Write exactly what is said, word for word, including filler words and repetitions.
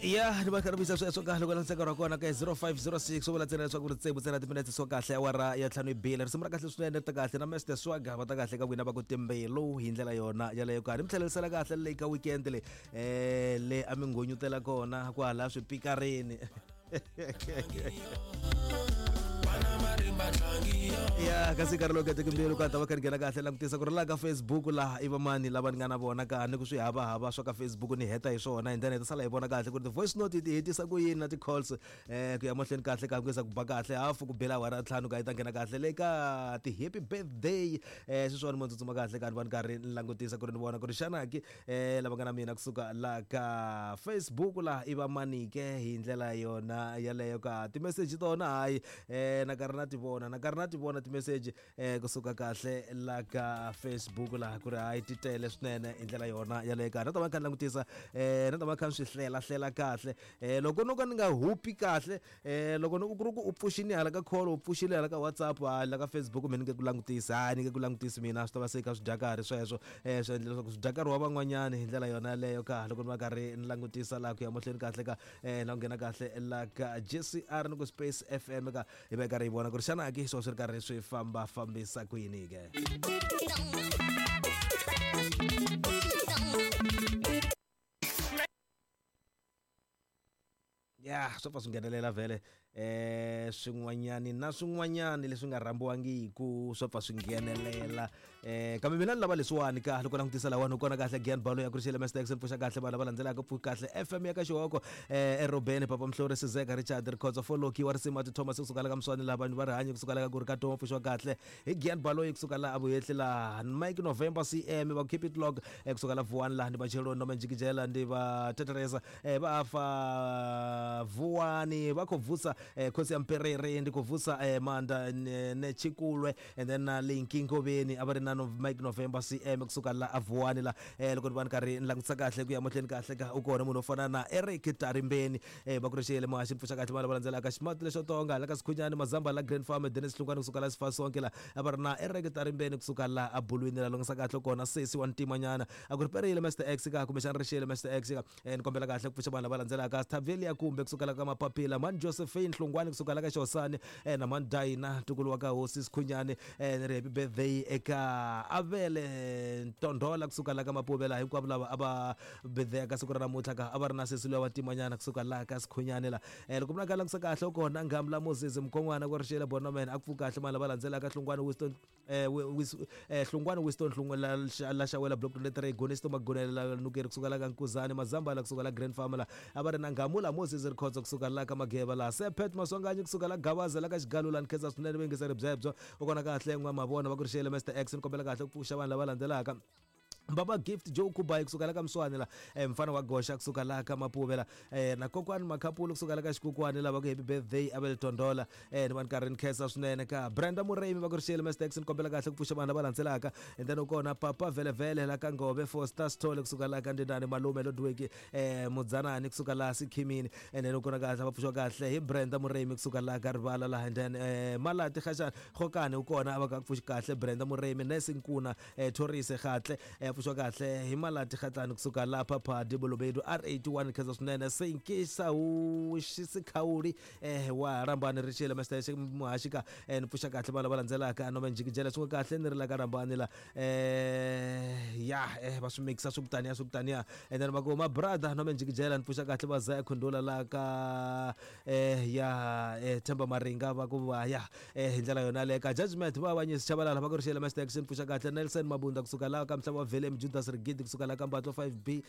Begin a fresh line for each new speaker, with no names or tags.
Ya ni va karhi vuyisa sweswo kahle loko langutisa nkarhi wa kona ka zero five zero six swo vula ntsena leswaku ri tsevu ntsena timinetse swo kahle awara ya ntlhanu yi bile. Risimu ra kahle swinene ri ta kahle na Mister Swagger va ta kahle ka n'wina va ku timbilu hi ndlela yona yaleyo karhi mi tlhelerisela kahle leyi ka weekend leyi um le a mi ngonyutela kona kwala swipikarini. Ya kasi nkarhi lowu keteke mbilu ka ta va kha ni nghena kahle langutisa ku ri laha ka Facebook laha i vamani lava ni nga na vona ka ni ku swi havahava swa ka Facebook ni heta hi swona and then hi ta sala hi vona kahle ku ri ti-voice note ti hetisa ku yini na ti-calls um ku ya mahlweni kahle ka ku yisa ku ba kahle hafu ku bela awara ya ntlhanu ka yi ta nghena kahle le ka ti-happy birthday um sweswiwani mo tsutsuma kahle ka ni va ni karhi ni langutisa ku ri ni vona ku ri xana ki um lava nga na mina kusuka laha ka Facebook laha i vamani ke hi ndlela yona yaleyo ka timeseji tona hayi um na karhi na ti vona na karhi na ti vona timeseji eh kusuka kahle la ka Facebook laha ku ri hayi ti tele swinene hi ndlela yona yaleyo ka na ta va kha ni langutisa eh na ta va kha ni swi hlela hlela kahle eh loko no ka ni nga hupi kahle eh loko no ku ri ku u pfuxini hala ka call u pfuxile hala ka WhatsApp hala ka Facebook mina ni nge ku langutisi hayi ni nge ku langutisi mina swi ta va se kha swi dya karhi sweswo eh swi endla leswaku swi dya nkarhi wa van'wanyani hi ndlela yona yaleyo ka loko ni va karhi ni langutisa laha ku ya mahlweni kahle ka eh na ku nghena kahle la ka J C R ni ku Space F M ka hi va karhi hi vona ku ri xana ke swo swi ri karhi swi famba fambisa ku yini ke. Ya swo pfa swi nghenelela vhele eh swin'wanyani na swin'wanyani leswi nga rhambiwangiku swo pfa swi nghenelela eh kambe mina ni lava leswiwani ka loko langutisa lawani u kona kahle Gian Balo ya Kurixile Master X pfuxa kahle vanhu lava landzelaka pfuka kahle F M ya ka Xihoko eh Erobeni Papa Mhlori Sizeka Richard Rikhotso Foloki wa risimu ati Thomas kusuka la ka Mswani laha vanhu va rihanyo kusuka la ka ku ri ka Toma pfuxiwa kahle hi Gian Balo kusuka la Avuhehli laha Mike November C M va keep it log kusuka la Vuwani laha ni va Cheloni noma Njikijela ndi va Teteresa eh va fa Vuwani va khou vusa eh, khosi ya Mperere ndi khou vusa eh, Manda ne Tshikulwe and then na Linki Ngoveni a va ri na no, Mike November C M kusuka la Avuwani la eh, loko ni va ni karhi ni langutisa kahle ku ya mahlweni kahle ka u kona munhu wo fana na Eric Tarimbeni eh, va ku ri xiyele muhaxi pfuxa kahle vanhu lava landzelaka Ximati lexo tonga la ka Sikhunyani Mazamba la Grand Farm Dennis Hlungwani kusuka la Sifasonke la a va ri na Eric Tarimbeni kusuka la Abulwini la langutisa kahle kona sesi wa ntimanyana a ku ri perile Mister X ka kumbexana ri xiyele Mister X ka eh, ni kombela kahle ku pfuxa vanhu lava landzelaka Stavelia kumbe kusuka la ka Mapapila Man Josephine Hlungwani kusuka la ka Xosani eh, na Man Dina ntukulu wa ka hosi Sikhunyani eh, ni ri happy birthday eka Avele Ntondola kusuka la ka Mapuvela hinkwavo lava a va birthday ka siku ra namuntlha ka a va ri na sesi loyi wa ntimanyana kusuka la ka Sikhunyani la eh, loko mi ka langutisa kahle u kona Ngamla Moses Mkhon'wana ku ri xiyele Bonoman a ku pfuka kahle mali lava landzelaka Hlungwani Winston eh, eh, Hlungwani Winston Hlungwani la Xawela block twenty-three Gonisto Magonela Nukeri kusuka la ka Nkuzani Mazamba la kusuka la Grand Farm la a va ri na Ngamula Moses Rikhotso kusuka la ka Mageva la Sepet Maswanganyi kusuka la Gabaza la ka Xigalu la Nkhensa swinene vuyingiseri byebyo u kona kahle n'wa mavona va ku ri xiyele Mister X ni kombela kahle ku pfuxa vanhu lava landzelaka Baba Gift Joe Kubai kusuka la ka Mswani la eh, mfana wa Gosha kusuka la ka Mapuvela eh, na Kokwani Makhapulu kusuka la ka Xikukwani lava ku happy birthday Abel Tondola eh, ni vanhu karhi ni khensa swinene ka Brenda Muremi va ku ri xiyele Mister X ni kombela kahle ku pfuxa vanhu lava landzelaka and then u kona Papa Velevele la ka Ngove Foster Sithole kusuka la ka Ndinani Malume Lodweki eh, Mudzanani kusuka la Sikhimini and then u kona kahle va pfuxiwa kahle hi Brenda Muremi kusuka la ka Rivala la and then eh, Malati Khashana Khokani u kona a va ka pfuxi kahle Brenda Muremi Nesi Nkuna eh, Thorise Khatle eh, pfuxiwa kahle hi Malati Khatlani kusuka la Phaphadi Bolobedu R eighty-one khensa swinene Senkisa Xisikhauli eh, wa Rambani ri xiyele Mister Muhaxi ka eh, ni pfuxa kahle vanhu lava landzelaka noma Njikijela swin'we kahle ni ri la ka Rambani la eh, ya eh, va swi mixa swi kutaniya swi kutaniya and then va ku ma brother noma Njikijela ni pfuxa kahle va Zaya Khundula la ka eh, ya eh, Themba Maringa va ku va ya eh, hi ndlela yona le ka Judgment va vanyisi Chabalala va ku ri xiyele Mister X ni pfuxa kahle Nelson Mabunda kusuka la ka Mhlava Vele Judas Rigidi kusuka la ka Mbatlo five B